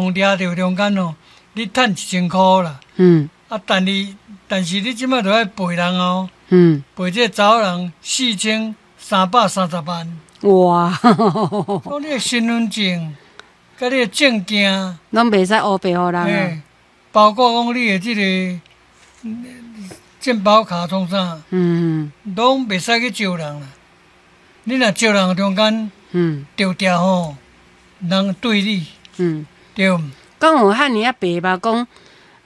予掠著中間吼，你趁1000箍啦。啊，但是你這馬著愛賠人哦。賠這個查某人4330萬。哇！講你的身份證，佮你的證件，攏袂使烏白予人啊。包括講你的這个健保卡創啥，攏袂使去招人啦。你若招人中間，著定吼，人對你，對。敢有遐爾仔白目講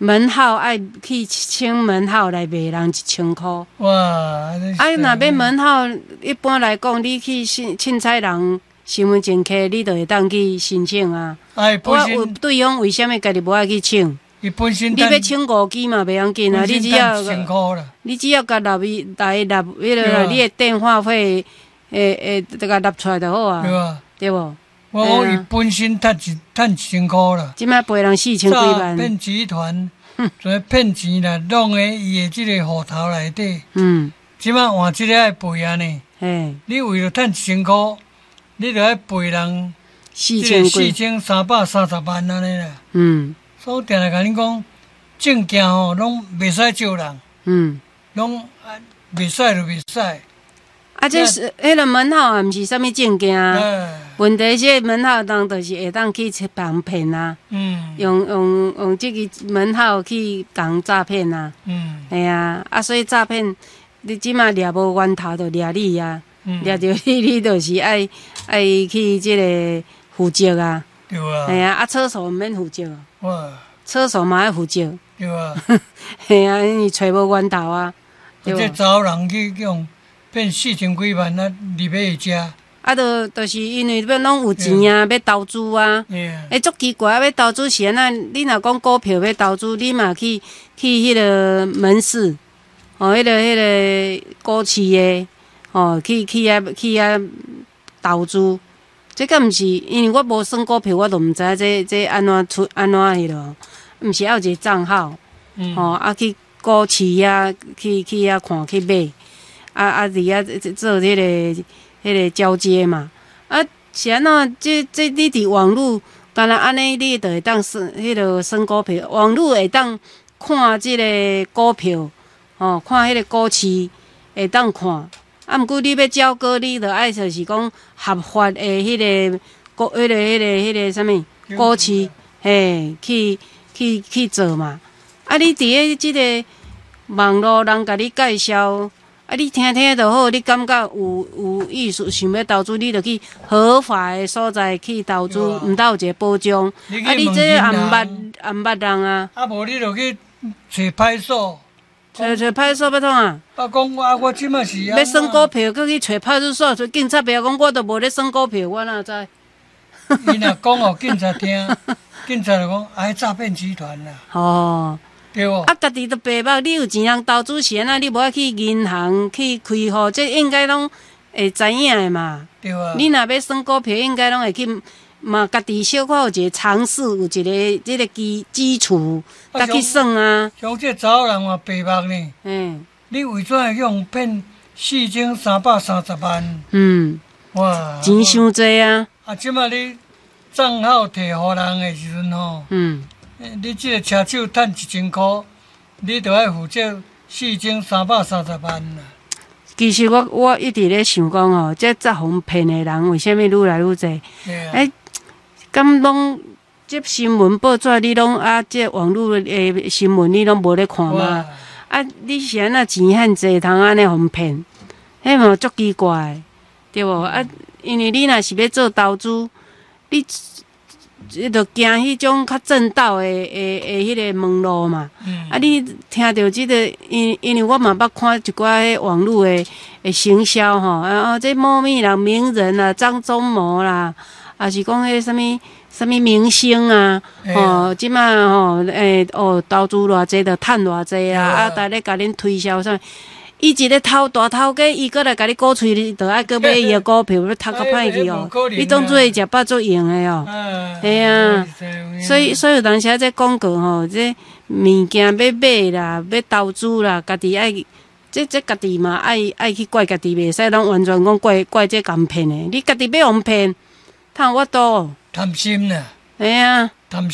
門號愛去請門號來賣人1000箍。哇！啊，若欲門號，一般來講，你去凊凊彩人身份證摕，你就會當去申請啊。哎，我有對方為啥物家己無愛去請？伊本身你欲請5支嘛袂要緊啊，你只要共納伊來納彼个你的電話費，會會共納出來就好啊。對啊。對無？我講伊本身趁1000箍啦。這擺賠人四千幾萬。詐騙集團，做騙錢啦，弄佇伊的這个戶頭內底。這擺換這个愛賠按呢。你為著趁1000箍，你著愛賠人4330萬按呢啦。所以定定共恁講，證件吼攏袂使招人。攏袂使就袂使。啊，這是彼个門號也毋是啥物證件。問題是門號人就是會當去予人騙啊。用這个門號去共詐騙啊。嘿啊，啊，所以詐騙，你這馬掠無源頭就掠你啊。掠著你，你就是愛去這个負責啊。對啊。嘿啊，啊，廁所毋免負責。哇。廁所嘛愛負責。對啊。嘿啊，因為揣無源頭啊。這查某人去予騙四千幾萬啊，入去食。啊，就是因為欲攏有錢啊，欲投資啊。欸，足奇怪啊！欲投資是按怎？你若講股票欲投資，你嘛去彼个門市，哦，彼个股市的，哦，去遐投資。這敢毋是？因為我無算股票，我都毋知影這按怎出按怎彼落。毋是愛有一个帳號，吼，啊去股市遐去遐看去買，啊啊佇遐做彼个交接嘛。啊，是按怎？這你佇網路，敢若按呢，你就會當算彼个算股票。網路會當看這个股票，吼，看彼个股市會當看。啊，毋過你欲交割，你著愛就是講合法的彼个股，彼个啥物股市，嘿，去做嘛。啊，你佇咧這个網路人共你介紹，啊，你聽聽就好，你感覺有意思，想欲投資，你就去合法的所在去投資，毋但有一个保障。啊，你這也毋捌也毋捌人啊。啊，無你就去揣派出所。揣派出所欲創啊？啊，講啊，我這馬是欲算股票，閣去揣派出所，揣警察袂曉講，我都無咧算股票，我哪知？伊若講予警察聽，警察就講啊，詐騙集團啦。哦。對無？啊，家己都白目，你有錢通投資是按怎？你無愛去銀行去開戶，這應該攏會知影的嘛。對啊。你若欲算股票，應該攏會去嘛，家己小可有一个常識，有一个這个基礎，才去算啊。像這查某人嘛白目呢。你為怎會去予騙4330萬？哇！錢傷濟啊！啊，這馬你帳號提予人的時陣吼，你這个車手趁1000箍，你就愛負責4330萬啦。其實我一直咧想講吼，這詐予騙的人為啥物愈來愈濟？欸，敢攏這新聞報紙你攏啊，這網路的新聞你攏無咧看嗎？啊，你是按怎錢遐濟通按呢予騙？彼嘛足奇怪，對無？啊，因為你若是欲做投資，你就行彼種較正道的彼个門路嘛。啊，你聽著這个，因為我嘛捌看一寡彼網路的行銷吼，啊，這某某人名人啊，張忠謀啦，抑是講彼啥物啥物明星啊，吼，這馬吼，欸，哦，投資偌濟就趁偌濟啊，啊，逐咧共恁推銷啥物。伊一个頭大頭家，伊閣來共你鼓吹，你著愛閣買伊的股票，欲讀較歹去哦。你當做伊食飽足閒的哦。嘿啊，所以有當時啊，這廣告吼，這物件欲買啦，欲投資啦，家己愛，這家己嘛愛去怪家己，袂使攏完全講怪這共騙的。你家己欲予騙，通有法度？貪心啦。嘿啊。贪。